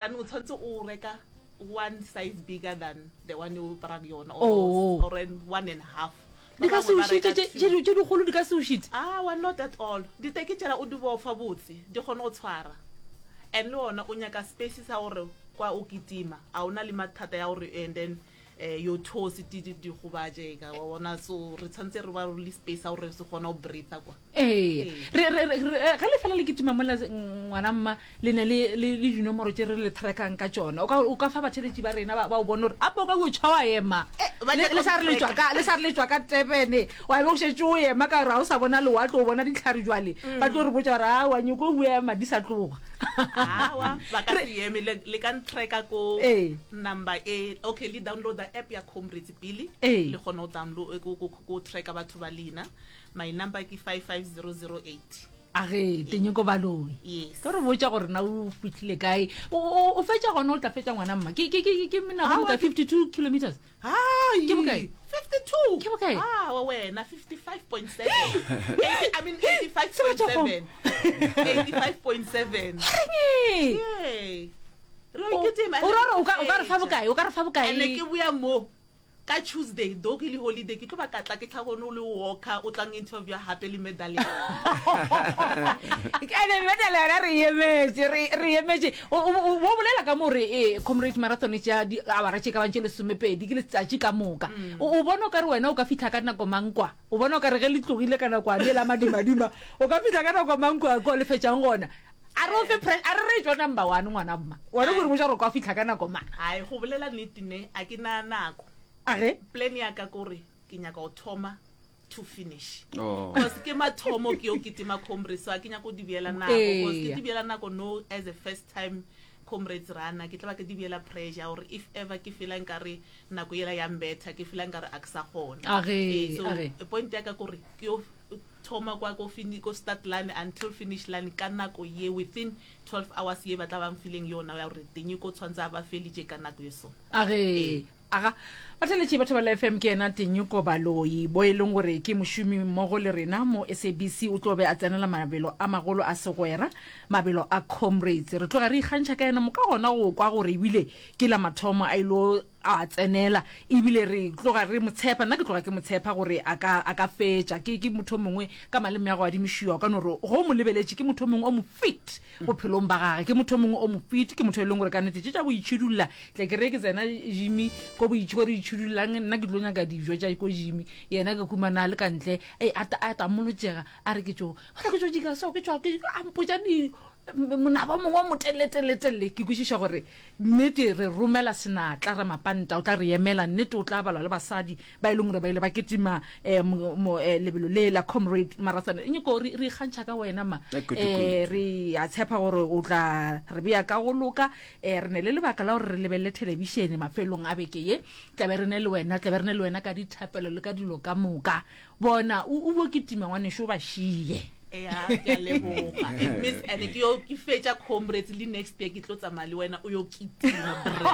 And o tshwanetse o reka one size bigger than the one o aparang yona or, Oh. or an one and half. Di Ba ka se bangwe o ba šite reka tše two. tše di- tše dikgolo di ka se o šite. Aowa, not at all. Diteki tšela o di bofa botse, di kgone go tshwara. And le ona o nyaka space sa gore kwa o kitima, a o na le mathata ya gore and then eh, your toes di di di gobatše ka wa bona so re tshwanetse re ba le space sa gore se kgona go breather kwa. Ee, re, re, re, re, ge le fela le kitima mola ngwana mma le ne le, le, le dinomoro tše re le trackang ka tšona. O ka, o ka fa batheletši ba rena ba, ba o bone gore ape o ka o tšha wa ema. Eh, ba Le, nyaka le sa re le tšwa ka, le sa re le tšwa ka Durban, wa be o šetše o ema ka gore ga o sa bona lewatle, o bona dihlare jwale. Ba tlo re botša gore aowa nyoko o ema di sa tloga. Aowa, ba ka se eme, le, le ka ntracka ko Ee. number e, okay, le downloada app ya Comrades pele, Ee. le kgone go download, ko, ko, ko tracka batho ba lena. My number ke 55008. A ge, Tenyoko Baloyi. Yes. Tlo re botša gore na o fihlile kae. O, o, o fetša gona o tla fetša ngwana mma. Ke, ke, ke, ke menagano Aowa, ka 52 kilometers. Hai. Ke bokae? 52. Ke bokae? Ah, wa wena 55.7. 80, I mean 85.7. 85.7. Reng? Yay. Re o kitima. O ra gore o ka, o ka re fa bokae? O ka re fa bokae? Ene ke boya mo. Ka Tuesday, though ke le holiday, ke tlo ba ka tla ke tlhagone o le walker, o tlang interview gape le medal ya Ene medal yona re e emetše, re re e emetše. O o o bo bolela ka mo re eh, Comrades Marathon e tšea diawara tše ka bang tše lesomepedi, ke letsatši ka moka. O o bona o ka re wena o ka fihla ka nako mang kwa? O bona o ka re ge le tlogile ka nakwane la madimadima, o ka fihla ka nako mang kwa ko le fetšang gona? A re o fe pre, a re re tšwa number one ngwana mma. Wena o re botša gore o ka fihla ka nako mang? Hai, go bolela nnete ne, a ke na nako. A ge? Plan ya ka kore ke nyaka go thoma to finish. Oh. Cause ke mathomo ke yo kitima comrades, so a ke nyaka go di beela nako. Cause ke Eya. di beela nako no as a first time comrades runner, ke tla ba ke di beela pressure gore if ever ke feela nkare nako yela ya mbetha, ke feela nkare a ke sa kgona. A ge, Ee, so a ge. point ya ka kore ke yo thoma kwa ko fini ko start line until finish line ka nako ye within 12 hours ye ba tla ba mfileng yona ya gore teng ko tshwantse a ba felitše ka nako ye so. A ge, aga, batheletši ba Thobela FM ke yena Tenyoko Baloyi, bo e leng gore ke mošomi mmogo le rena mo SABC, o tlo be a tsenela mabelo a magolo a segwera, mabelo a Comrades. Re tloga re ikgantšha ka yena moka gona go kwa gore ebile ke la mathomo a ilo a tsenela ebile re tloga re mo tshepa nna ke tloga ke mo tshepa gore a ka a ka fetša ke ke motho mongwe ka maleme ya go adimišiwa o ka no re go mo lebeletše ke motho mongwe o mo fit bophelong ba gage ke motho mongwe o mo fit ke motho e leng gore ka nete tše tša boitšhidulla tle ke re ke tsena jimi ko boitšhi ko re itšhidullang nna ke tlo nyaka dijo tša ko jimi yena ke humana a le ka ntle e a ta- a tamolotšega a re ke tšo a re ke tšo dika so ke tšwa ke a mpotša di monaba mongwe o moteleletelele ke kwešiša gore Nnete re romela senatla Ramapanta, o tla re emela. Nnete o tla balwa le basadi ba e leng gore ba ile ba kitima um lebelo le la Comrade Marathon. Nyoko re re ikgantšha ka wena ma. Um re a tshepa gore o tla re bea ka go loka. Um re ne le lebaka la gore re lebelele thelebišene mafelong a beke ye. Tla be re ne le wena, tla be re ne le wena ka dithapelo le ka dilo ka moka. Bona o o bo kitima ngwanešu o ba šie. Ea, ke a leboga. It means and ke yo ke fetša comrades le next year ke tlo tsamaya le wena o yo kitima bre.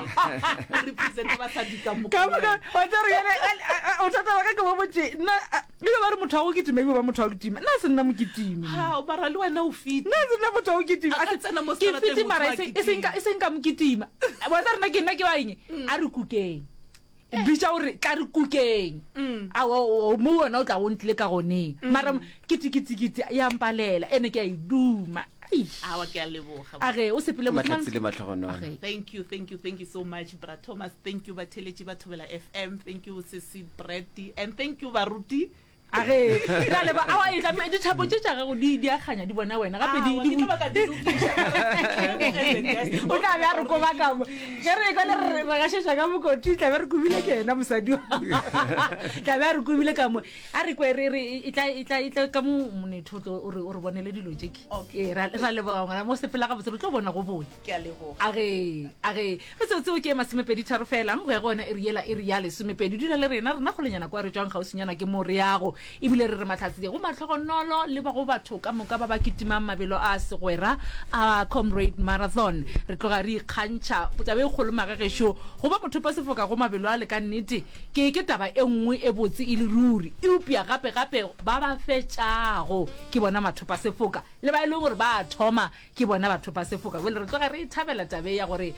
O represent basadi ka moka. Ka moka wa tseba gore yena o thata wa ka ke mo botse nna e ba re motho wa go kitima e ba motho wa go kitima nna se nna mokitimi. Ha, mara le wena o fit. Nna se nna motho wa go kitima. A ka tsena mo Ke seterateng fit motho mara wa e seng e seng ka kitima. e seng ka mokitima. Wa tseba rena ke nna ke wa eng? A re kukeng. bitša gore tla re kukeng mm. mo wena o tla go ntlile ka goneng mm. mara keteketekete ya mpalela ene ke a e duma awa ke a leboga a ge o sepele matlhatsi le matlhogonolo thank you thank you thank you so much bra thomas thank you batheletši ba thobela fm thank you sesi brady and thank you baruti A ge, ra leba, awa, e tla, dithapo tše tša gago di, di a kganya, di bona wena, gape di, Aowa, di ke tlo ba ka di lokiša. O tla be a re koba ka mo. Ge re ekwa le re, re gašetša ka mokoti, tla be re kobile ke yena mosadi wa. Tla be a re kobile ka mo. A re kwe, re, re, e tla, e tla, e tla ka mo monetho o tlo, o re, o re bonele dilo tše ke. Okay. Ee, ra, ra leboga ngwana, mo sepela gabotse, re tlo bona go boya. Ke a leboga. A ge, a ge. Metsotso ke e masomepeditharo fela, go ya go yona iri yela, iri ya lesomepedi. Dula le rena, rena kgolenyana kwa re tšwang kgauswinyana ke mo re yago. Ebile re re mahlatse go mahlogonolo le ba go batho ka moka ba ba kitimang mabelo a segwera a Comrade Marathon. Re tloga re ikgantšha. Taba e kgolo magagešo, go ba mothopasefoka go mabelo ale ka nnete ke, ke taba e nngwe e botse e le ruri. Eupša gape, gape ba ba fetšago ke bona mathopasefoka, le ba e leng gore ba a thoma ke bona bathopasefoka. Bjale re tloga re e thabela taba e ya gore.